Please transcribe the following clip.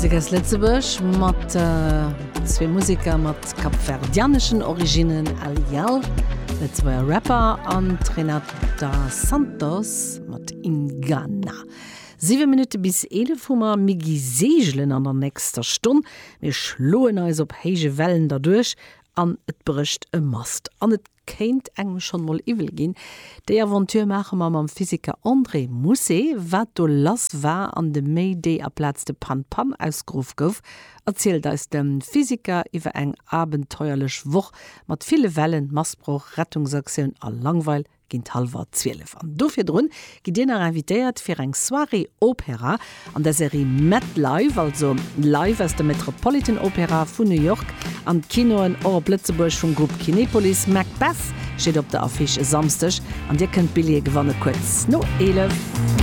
Musek aus Lëtzebuerg mat zwee Museker mat kapverdianeschen Originnen, Aliel, Lëtzebuerger Rapper, an d'Renata Santos mat Ingana. 7 Minutte bis 11 hu mer. Mir gi seegelen an der nächster Stonn. Mir schloen eis op héije Wellen derduerch an et brécht e Mast an et kéint engem schonn mol iwwel ginn. Déi Aventure maache mer mam Physiker André Mousset. Wat do lass war an de Mayday aplaz de Pan Pan ausgeruff gouf, erzielt eis de Physiker iwwer eng abenteuerlech Woch mat ville Wellen, Mastbroch, Rettungsaktioun a Langweil géint hallwer 12. An do virdrun gitt dir nach invitéiert fir eng Soirée Opéra an der Serie Met Live, also live aus der Metropolitan Opera vun New York an d'Kinoen, och op Lëtzebuerg vum Grupp Kinepolis. Macbeth steet op der Affiche e Samsdeg an dir kënnt Billjeeë gewanne kuerz no 11.